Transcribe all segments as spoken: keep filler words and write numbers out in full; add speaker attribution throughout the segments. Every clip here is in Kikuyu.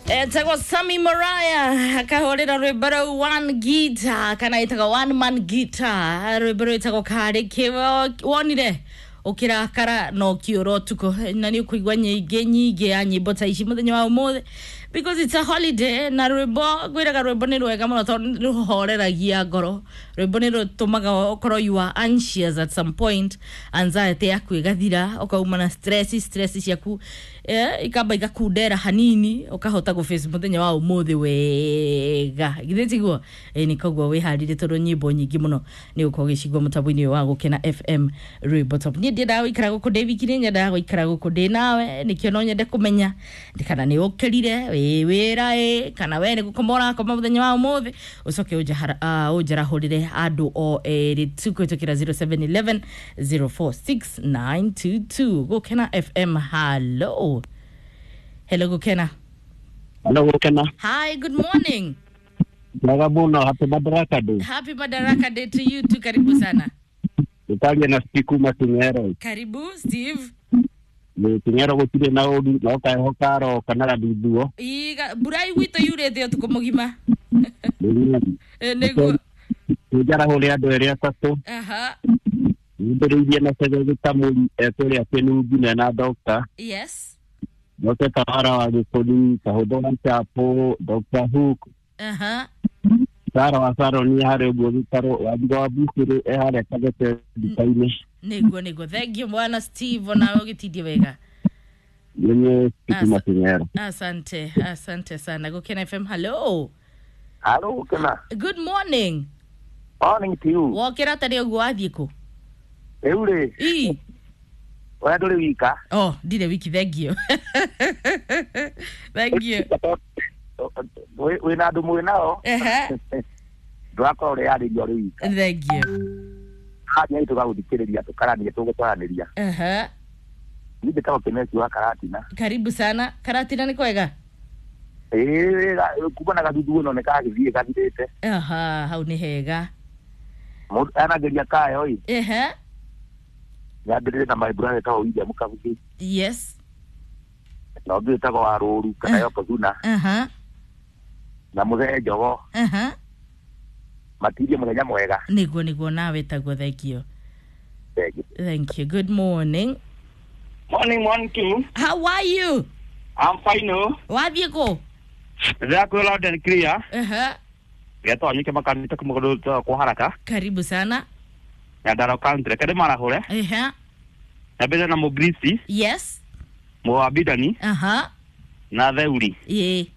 Speaker 1: Etagwo Sammy Mariah akahũrĩra rwĩmbo rũu one guitar kana ĩtagwo one man guitar, rwĩmbo rwĩtagwo karĩ kĩ wonire ũkĩrakara na ũkĩũra ũtukũ, na nĩ ũkũigua nyingĩ nyingĩ ya nyĩmbo ta ici mũthenya wa ũmũthĩ because it's a holiday. Na rwĩmbo ngwĩraga rwĩmbo nĩ rwega mũno tondũ nĩ rũhoreragia ngoro, rwĩmbo nĩ rũtũmaga ũkorwo you are anxious at some point, anxiety yaku ĩgathira, ũkauma na stress stress ciaku eh, ikamba igakundera hanini, ũkahota gũface mũthenya wa ũmũthĩ wega, githĩ tiguo? Ĩ nĩ koguo wĩharĩrie tondũ nyĩmbo nyingĩ mũno nĩ ũkorwo ũgĩcigua mũtambo-inĩ ũyũ wa Gũkena F M Rwĩmbo Top. Niĩ ndiendaga gũikara gũkũ ndĩ wiki, nĩ nyendaga gũikara gũkũ ndĩ nawe, nĩkĩo no nyende kũmenya kana nĩ ũkĩrire wĩ wĩra ĩ kana we nĩ gũkoma ũrakoma mũthenya wa ũmũthĩ, ũcoke ũnjarahũrĩre andũ o erĩ tu kũhĩtũkĩra zero seven eleven zero four six nine two two. Gũkena F M, hello. Hello Gũkena.
Speaker 2: Hello Gũkena.
Speaker 1: Hi, good morning.
Speaker 2: Mwega mũno, happy Madaraka Day.
Speaker 1: Happy Madaraka Day to you too, karibu sana.
Speaker 2: Nĩtaria na Steve kuma King'ero.
Speaker 1: Karibu Steve.
Speaker 2: Nĩ King'ero gũtirĩ na ũru, no kaheho karoka na gathuthuo.
Speaker 1: Iga mbura gwitũ yurĩte ũtukũ mũgima.
Speaker 2: Nĩguo.
Speaker 1: Nĩguo.
Speaker 2: Nĩnjarahũre andũ erĩ atatũ.
Speaker 1: Aha.
Speaker 2: Nyambĩrĩirie na Cege Gĩtamũri ekũrĩa Kĩnungi mena doctor.
Speaker 1: Yes.
Speaker 2: Njoke Kawara wa Gĩkũri, Kahũthũ wa Chapo, Doctor Hook.
Speaker 1: Aha.
Speaker 2: Sara wa Saroni harĩa ũguo gĩtarũ, Wanjirũ wa Bucĩrĩ e harĩa Kagete nduka-inĩ.
Speaker 1: Nĩguo nĩguo. Thank you bwana Steve, onawe ũgĩtindie wega.
Speaker 2: Nĩ Steve King'ero.
Speaker 1: Asante, asante sana. Gũkena F M, hello.
Speaker 3: Hello Gũkena.
Speaker 1: Good morning.
Speaker 3: Morning to you.
Speaker 1: Wokĩra tarĩ ũguo wathiĩ kũ?
Speaker 3: Rĩu rĩ.
Speaker 1: Ii.
Speaker 3: We ndũrĩ wika.
Speaker 1: Oh, ndirĩ wiki, thank you. Thank you.
Speaker 3: Wĩna andũ mwĩ nao.
Speaker 1: Ehe.
Speaker 3: Ndũrakorwo ũreyarĩria ũrĩ wika.
Speaker 1: Thank you.
Speaker 3: Hanya tũgagũthikĩrĩria tũkarania tũgũtwaranĩria.
Speaker 1: Ehe.
Speaker 3: Niĩ njĩtagwo Kĩmeci wa Karatina.
Speaker 1: Karibu sana. Karatina nĩ kwega?
Speaker 3: Ĩĩ, kuma na gathuthuo no nĩ kagĩthiĩ gathirĩte.
Speaker 1: Aha, hau nĩ hega.
Speaker 3: Mũndũ anageria kayo ĩ.
Speaker 1: Ehe.
Speaker 3: Nyambĩrĩrie na my brother etagwo William Kabugi.
Speaker 1: Yes.
Speaker 3: Na ũngĩ wĩtagwo Warũru kana Yokozuna.
Speaker 1: Aha.
Speaker 3: Na Mũthee Njogo.
Speaker 1: Aha.
Speaker 3: Matirie mũthenya mwega.
Speaker 1: Nĩguo nĩguo, nawe taguo, thank you.
Speaker 3: Thank you.
Speaker 1: Thank you. Good morning.
Speaker 4: Morning, morning to you.
Speaker 1: How are you?
Speaker 4: I'm fine. Oh.
Speaker 1: Wathiĩ kũ?
Speaker 4: Ndĩrakwĩra loud and clear.
Speaker 1: Aha.
Speaker 4: Getwo nyike makanitha kũmũgũrũ kwa haraka.
Speaker 1: Karibu sana.
Speaker 4: Nyandarua County. Reke ndĩmarahũre.
Speaker 1: Ehe.
Speaker 4: Nyambĩrĩrie na Mũgrisi.
Speaker 1: Yes.
Speaker 4: Mũabidani.
Speaker 1: Aha.
Speaker 4: Na Theuri.
Speaker 1: Ĩĩ.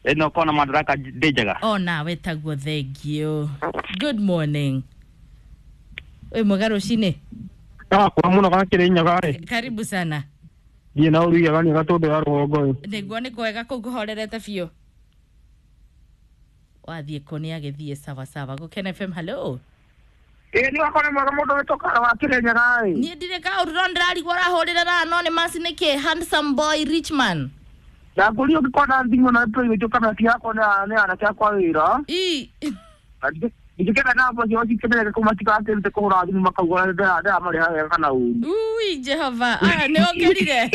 Speaker 4: Ĩno kona Madaraka ndĩ njega.
Speaker 1: O nawe taguo, thank you. Good morning. Wĩ mwega rũcinĩ?
Speaker 5: Gakwa mũno gakĩrĩ nyaga rĩ.
Speaker 1: Karibu sana.
Speaker 5: Thiĩ na ũruiga gani gatũndũ ya rũgongo ĩ.
Speaker 1: Nĩguo nĩ kwega kũu kũhorerete biũ. Wathiĩ kũ nĩ agĩthiĩ sawa sawa. Gũkena F M, hello.
Speaker 3: Ĩĩ nĩ wakona mwega mũndũ wĩtwo Kara wa Kĩrĩnyaga ĩ.
Speaker 1: Niĩ ndirĩ kaũndũ no ndĩrarigwo ũrahũrĩra na anonymous nĩkĩ, handsome boy rich man.
Speaker 3: Ndakũria ũngĩkona thimũ na private kana ti yakwa nĩ anake akwa wĩra.
Speaker 1: Ii.
Speaker 3: Ndingĩkenda namba ciao cikenere kũ matigakĩrute kũhũra thimũ makauga ndĩramarĩha wega kana ũru.
Speaker 1: Ui Jehova, aya nĩ ũkĩrire.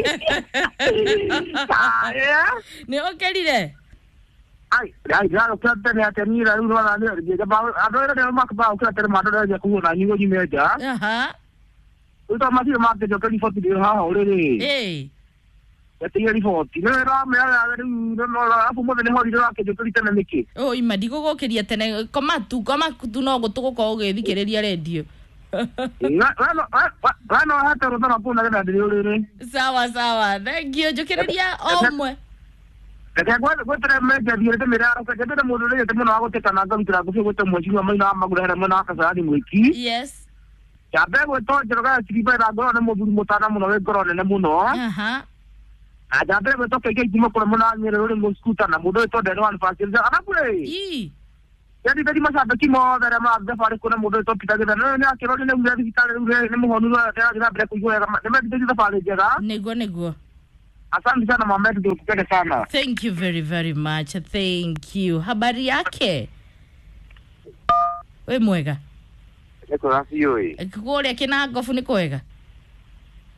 Speaker 1: Nĩ ũkĩrire.
Speaker 3: Ai, ai, ndĩrarũkĩra tene atĩa niĩ rĩu nĩwona nĩ andũ arĩa nĩo makĩra tene mandoreragia kũhũra na nyugo nyume nja.
Speaker 1: Aha.
Speaker 3: Rĩu to matirĩ makĩnjokeria riboti ndĩ haha ũrĩrĩ.
Speaker 1: Ĩĩ.
Speaker 3: Etigĩra riboti. Nĩ ũramera rĩu arabu mũthĩ nĩ holiday ũrakĩnjokeria tene nĩkĩ?
Speaker 1: Ũ ima ndigũgũkĩria tene, koma tu, koma tu no gũtũ gũkorwo ũgĩthikĩrĩria redio.
Speaker 3: We no ũhete rũtha rwa kũu nĩgetha ndĩrĩ ũrĩrĩ.
Speaker 1: Sawa sawa, thank you. Njũkĩrĩria o ũmwe.
Speaker 3: Reke ngwetere menja thiĩ ndĩmĩre araka njendete mũndũ ũrĩte mũno wa gũteta na ngarutĩra ngũbia gwĩte mwecirwa maina wa magũrũ harĩa mwena wa Kasarani Mwiki.
Speaker 1: Yes.
Speaker 3: Nyambe gwĩtwo Njoroge ya Chiriba na ngoro nĩ mũthuri mũtana mũno wĩ ngoro nene mũno.
Speaker 1: Aha.
Speaker 3: Na nyambe gwĩtwo K K kuma kũrĩa mwena wa Nyĩrĩ ũrĩ mũskuta na mũndũ wĩtwo Ndeno wa Nfasi. Arabu rĩ.
Speaker 1: Ii.
Speaker 3: Yandithĩri macambĩki mothe arĩa marathiĩ thabarĩ kũna mũndũ wĩtwo Peter Gĩthana nĩ akĩrwo nĩ aumire thibitarĩ rĩu nĩ mũhonu nĩarathiĩ na mbere kũigua wega, nĩmendithĩrie thabarĩ njega.
Speaker 1: Nĩguo nĩguo.
Speaker 3: Asante sana mama yetu, tukupende sana.
Speaker 1: Thank you very very much. Thank you. Habari yake? We mwega.
Speaker 3: Nĩ kwega biũ ĩ.
Speaker 1: Kũrĩa Kĩnangobu nĩ kwega?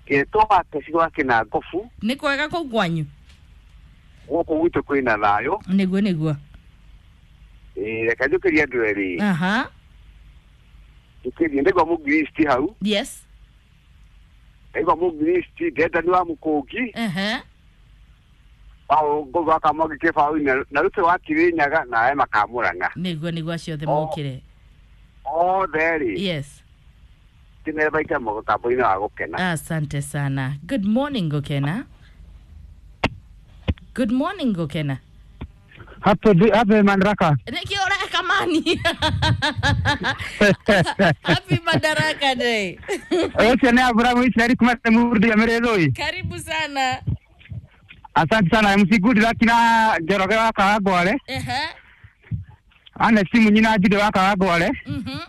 Speaker 3: Gĩtwo gĩcigo kĩnangobu.
Speaker 1: Nĩ kwega kũu kwanyu?
Speaker 6: Gũkũ gwitũ kwĩna thayũ.
Speaker 1: Nĩguo nĩguo.
Speaker 6: Ĩĩ reke njũkĩrie andũ erĩ.
Speaker 1: Aha.
Speaker 6: Njũkĩrie ndĩgwa mũgiristi hau.
Speaker 1: Yes.
Speaker 6: Ndĩgwa mũgiristi ndenda nĩ wa mũkũngi.
Speaker 1: Ehe.
Speaker 6: Bao ngogo akamwagi kĩbaũ-inĩ na rũte wa Kirinyaga na ema Kamũrang'a.
Speaker 1: Nĩguo nĩguo acio othe mokĩre.
Speaker 6: Othe rĩ.
Speaker 1: Yes.
Speaker 6: Tinere baita mũtambo-inĩ wa Gũkena.
Speaker 1: Asante sana. Good morning Gũkena. Good morning Gũkena.
Speaker 5: Happy happy Madaraka.
Speaker 1: Nĩkĩ ũreka mani? Happy Madaraka Day.
Speaker 5: Ũcio nĩ Abrahamu Israeli kuma Murdi ya Mereroi.
Speaker 1: Karibu sana.
Speaker 5: Asante sana M C Good Luck na Njoroge wa Kawangware.
Speaker 1: Ehe.
Speaker 5: Ana simu nyina Jude wa Kawangware.
Speaker 1: Mhm.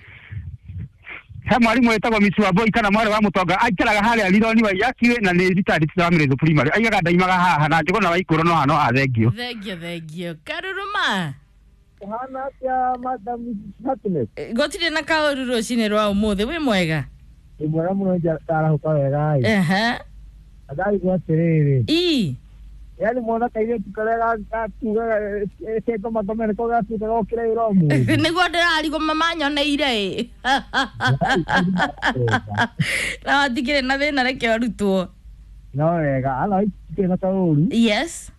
Speaker 5: He mwarimu wetagwo Miss Wambui kana mwarĩ wa Mũtonga aikaraga harĩa Rironi wa Iyakiwe na nĩ retired wa Mĩrĩthũ Primary. Aigaga ndaimaga haha na Njũgũna wa Ikũrũ no hano athengio.
Speaker 1: Thengio thengio. Karuruma.
Speaker 7: Hana atia Madam Happiness.
Speaker 1: Gũtirĩ na kaũru rũcinĩ rwa ũmũthĩ wĩ mwega?
Speaker 7: Wĩ mwega mũno ndarahũka wega ĩ.
Speaker 1: Ehe.
Speaker 7: Ndaigua atĩrĩrĩ.
Speaker 1: Ii.
Speaker 7: Yaani mwana kairĩtu karĩa gatugaga kengoma nĩko gatuĩka gokĩra wĩra ũmũthĩ.
Speaker 1: Nĩguo ndĩrarigwo mama nyoneire ĩ. Na watikĩrĩ na thĩna reke arutwo.
Speaker 7: No wega ala itikĩrĩ na kaũru.
Speaker 1: Yes.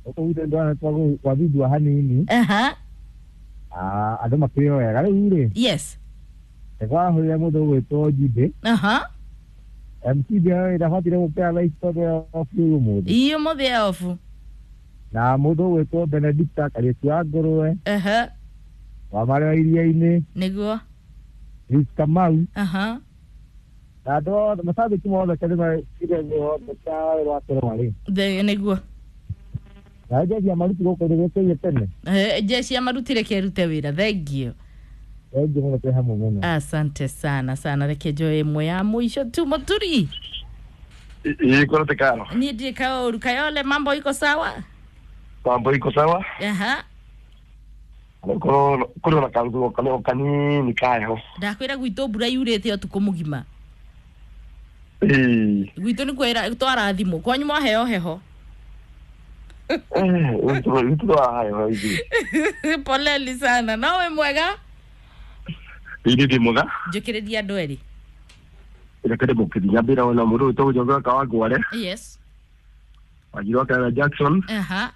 Speaker 7: Gũkũ gwitũ nĩndĩrona gwathundua hanini.
Speaker 1: Aha.
Speaker 7: Ah, andũ makĩrĩ wega rĩu rĩ.
Speaker 1: Yes.
Speaker 7: Nĩkwahũrire mũndũ ũgwĩtwo Njibĩ.
Speaker 1: Aha.
Speaker 7: M C ndĩrabatire gũkĩra thaa ici tondũ e off ũmũthĩ.
Speaker 1: Ii ũmũthĩ e off.
Speaker 7: Na mũndũ ũgwĩtwo Benedicta Kariũki wa Ngũrwe.
Speaker 1: Ehe.
Speaker 7: Wa marĩa wa iria-inĩ.
Speaker 1: Nĩguo.
Speaker 7: Ruth Kamau.
Speaker 1: Aha.
Speaker 7: Na andũ othe macambĩki mothe kĩrĩma kĩrĩa othe kĩa rwa Kĩrũma rĩ.
Speaker 1: Nĩguo.
Speaker 7: Na jeshi ya maruti gũkũ nĩgũkĩire tene.
Speaker 1: Eh, jeshi ya maruti reke ĩrute wĩra. Thengio.
Speaker 7: Thengio mũno twĩ hamwe mũno.
Speaker 1: Asante sana sana reke njoe ĩmwe ya mũico tu Mũturi.
Speaker 8: Ii koro tekano.
Speaker 1: Niĩ ndirĩ kaũru. Kayole mambo iko sawa?
Speaker 8: Mambo iko sawa.
Speaker 1: Aha.
Speaker 8: Koro koro na karugo kano kanini kayo.
Speaker 1: Ndakwĩra gwitũ mbura yurĩte ũtukũ mũgima.
Speaker 8: Ii.
Speaker 1: Gwitũ nĩ kwĩra twarathimwo. Kwanyu mwaheo heho.
Speaker 8: Eh, gwitũ twaheo ithuĩ.
Speaker 1: Poleni sana. No wĩ mwega?
Speaker 8: Ii ndĩ mwega.
Speaker 1: Njũkĩrĩria andũ erĩ.
Speaker 8: Reke ndĩmũkĩrie mbĩra ona mũndũ ũyũ Njoroge wa Kawangware.
Speaker 1: Yes.
Speaker 8: Wanjiru wa Kayole Jackson.
Speaker 1: Aha.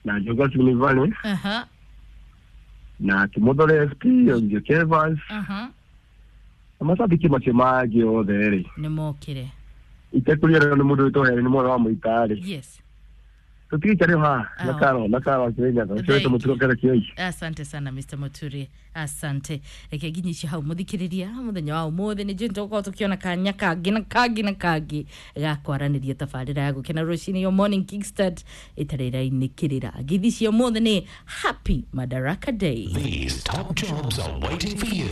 Speaker 8: Na Njoga Sylvani.
Speaker 1: Aha.
Speaker 8: Na Kĩmũthore F P, Njoki Evans.
Speaker 1: Aha.
Speaker 8: Na macambĩki macio mangĩ othe rĩ.
Speaker 1: Nĩmokĩre.
Speaker 8: Itekũriganĩrwo nĩ mũndũ wĩtwo Helen mwana wa Mũita rĩ.
Speaker 1: Yes.
Speaker 8: Tũtigĩikare haha na Karo na Karo Kirinyaga ũcio wĩtwo Mũturo Kĩrĩkĩoi.
Speaker 1: Asante sana Mister Muturi. Asante. Reke nginyi icio hau mũthikĩrĩria mũthenya wa ũmũthĩ nĩ njũĩ nĩtũgũkorwo tũkĩona kanya kangĩ na kangĩ na kangĩ ga kwaranĩria tabarĩra ya Gũkena rũcinĩ yo Morning Kickstart ĩtarĩ ĩrainĩkĩrĩra. Ngeithi cia ũmũthĩ nĩ Happy Madaraka Day.
Speaker 9: These top jobs are waiting for you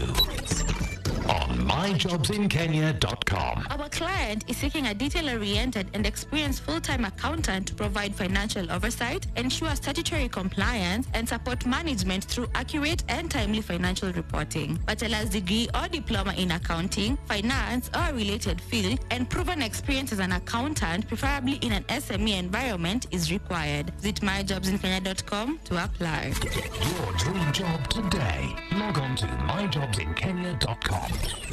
Speaker 9: on my jobs in kenya dot com.
Speaker 10: Our client is seeking a detail-oriented and experienced full-time accountant to provide financial oversight, ensure statutory compliance, and support management through accurate and timely financial reporting. Bachelor's degree or diploma in accounting, finance, or related field, and proven experience as an accountant, preferably in an S M E environment, is required. Visit my jobs in kenya dot com to apply.
Speaker 9: Get your dream job today. Log on to my jobs in kenya dot com.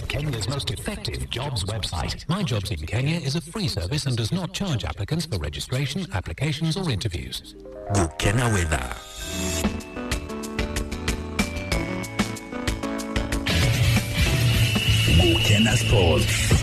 Speaker 9: Kenya's most effective jobs website. My Jobs in Kenya is a free service and does not charge applicants for registration, applications or interviews.
Speaker 11: Gukena weather. Gukena Sports.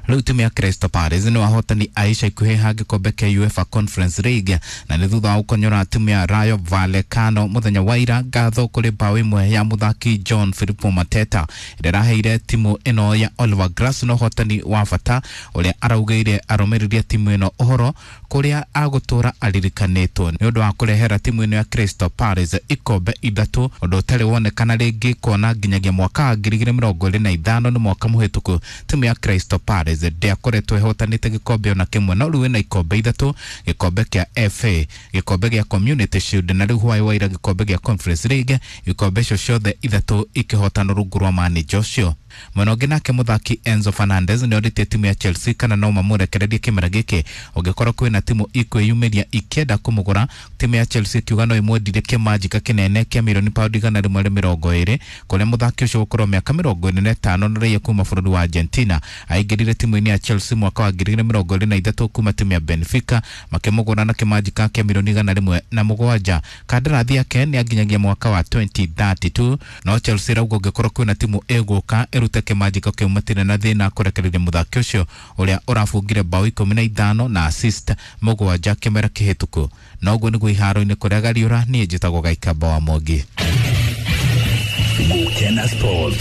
Speaker 12: Rĩu timu ya Crystal Palace nĩ wahotani a ica ikuhĩ ha gĩkombe kĩa UEFA Conference League na nĩ thutha wa gũkonyora timu ya Rayo Vallecano mũthenya wa ira ngatho kũrĩ bao ĩmwe ya mũthaki John Filippo Mateta ĩrĩa ĩraheire timu ĩno ya Oliver Glasner ũhotani wa bata ũrĩa araugĩire arũmĩrĩri a timu ĩno ũhoro kũrĩa agũtũra aririkanĩtwo nĩ ũndũ wa kũrehera timu ĩno ya Crystal Palace ikombe ithatũ ũndũ ũtarĩ wonekana rĩngĩ kuona nginyagia mwaka wa ngiri igĩrĩ mĩrongo ĩrĩ na ithano nĩ mwaka mũhĩtũku timu ya Crystal Palace ndĩakoretwo ĩhotanĩte gĩkombe ona kĩmwe no rĩu ĩna ikombe ithatũ gĩkombe kĩa F A gĩkombe gĩa Community Shield na rĩu hwaĩ wa ira gĩkombe gĩa Conference League ikombe icio ciothe ithatũ ikĩhotanwo rungu rwa manager ũcio. Mwena ũngĩ nake mũthaki Enzo Fernandez nĩ orĩtie timu ya Chelsea kana no mamũrekererie kĩmera gĩkĩ ũngĩkorwo kwĩna timu ikwĩyumĩria ikĩenda kũmũgũra. Timu ya Chelsea ikiuga no ĩmwendirie kĩmanjika kĩnene kĩa mirioni paundi igana rĩmwe rĩa mĩrongo ĩrĩ kũrĩa mũthaki ũcio gũkorwo mĩaka mĩrongo ĩrĩ na ĩtano na raia kuma bũrũri wa Argentina. Aingĩrire timu-inĩ ya Chelsea mwaka wa ngiri igĩrĩ mĩrongo ĩrĩ na ithatũ kuma timu ya Benfica makĩmũgũra na kĩmanjika kĩa mirioni igana rĩmwe na mũgwanja. Kandarathi yake nĩ anginyagia mwaka wa twenty thirty-two no Chelsea rauga ũngĩkorwo kwĩna timu ĩgũka ĩrute kĩmanjika kĩu matirĩ na thĩna kũrekereria mũthaki ũcio ũrĩa ũrabungire bao ikũmi na ithano na assist mũgwanja kĩmera kĩhĩtũku. Na ũguo nĩguo iharo-inĩ kũrĩa Gariũra, niĩ njĩtagwo Gaikamba wa Mwangi.
Speaker 11: Gukena Sports.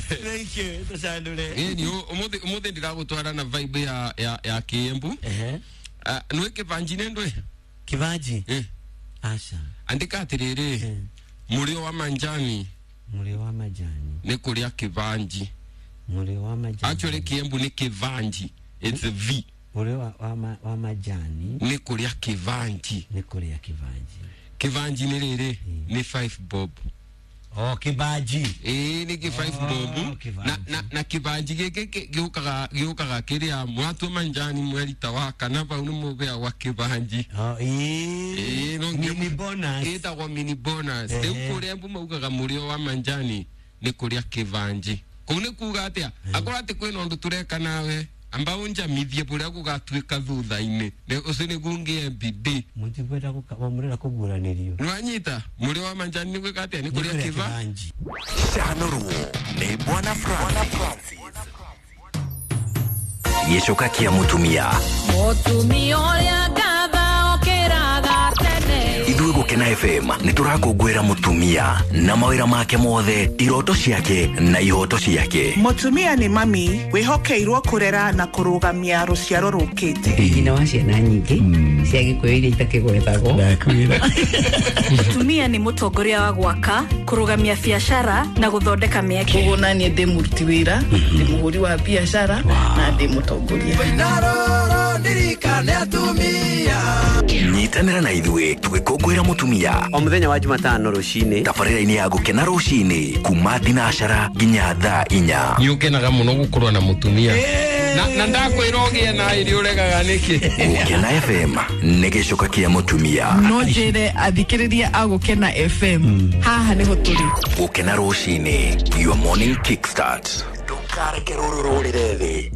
Speaker 13: Thank you. Tucandure.
Speaker 14: Ĩni ũmũthĩ ũmũthĩ ndĩragũtwara na vibe ya ya ya Kiembu.
Speaker 13: Ehe.
Speaker 14: Ah, nĩ kĩbanji nĩ ndwe?
Speaker 13: Kĩbanji?
Speaker 14: Eh.
Speaker 13: Aca.
Speaker 14: Andĩka atĩrĩrĩ. Mũrĩo wa manjani.
Speaker 13: Mũrĩo wa majani.
Speaker 14: Nĩ kũrĩa kĩbanji.
Speaker 13: Mũrĩo wa majani.
Speaker 14: Actually Kiembu nĩ kĩbanji. It's a V.
Speaker 13: Mũrĩo wa wa, wa majani.
Speaker 14: Nĩ kũrĩa kĩbanji.
Speaker 13: Nĩ kũrĩa kĩbanji.
Speaker 14: Kĩbanji nĩ rĩrĩ nĩ five bob.
Speaker 13: Oh, kibanji.
Speaker 14: Eh, ni ki five
Speaker 13: oh,
Speaker 14: bob. Na na na kibanji giki giukaga giukaga kiria mwatu manjani mwerita wa kana bau ni mubea wa kibanji.
Speaker 13: Oh, eh.
Speaker 14: Eh, no
Speaker 13: mini bonus.
Speaker 14: Itagwo mini bonus. Riu kuria mbu maugaga murio wa manjani ni kuria kibanji. Kuu ni kuga atia? Akorwo ati kwina undu tureka nawe amba unjamithie buria gugatuika thutha-ini ucio niguo ngie bidii
Speaker 13: mutikwenda murenda kuguranirio
Speaker 14: niwanyita muri wa manjani ni gwika atia ni kuria kibanji.
Speaker 11: Canũrwo nĩ Bwana Francis. Gĩcoka kĩa mũtumia
Speaker 15: mũtumia ũrĩa ngatha okĩraga tene.
Speaker 11: Ithuĩ Gũkena F M nĩ tũrakũngũĩra mũtumia na mawĩra make mothe, iroto ciake na ihoto ciake.
Speaker 16: Mũtumia nĩ mami wĩhokeirwo kũrera na kũrũgamia rũciaro rũkĩte.
Speaker 17: Nyina wa ciana nyingĩ cia Gĩkũyũ iria itakĩgwetagwo.
Speaker 18: Mũtumia nĩ mũtongoria wa gwaka, kũrũgamia biacara na gũthondeka mĩeke.
Speaker 19: Koguo naniĩ ndĩ mũruti wĩra, ndĩ mũhũri wa biacara na ndĩ mũtongoria.
Speaker 11: Nyitanĩra na ithuĩ tũgĩkũngũĩra mũtumia
Speaker 13: o mũthenya wa Jumatano rũcinĩ
Speaker 11: tabarĩra-inĩ ya Gũkena rũcinĩ kuma thinacara nginya thaa inya.
Speaker 14: Nĩ ũkenaga mũno gũkorwo na mũtumia na na ndakwĩra ũgĩe na irio ũregaga nĩkĩ.
Speaker 11: Gũkena F M nĩ gĩcoka kĩa mũtumia.
Speaker 19: No njĩre athikĩrĩria a Gũkena F M haha nĩho tũrĩ.
Speaker 11: Gũkena rũcinĩ, your morning kickstart. Ndũkareke rũrũ rũrĩre thĩ.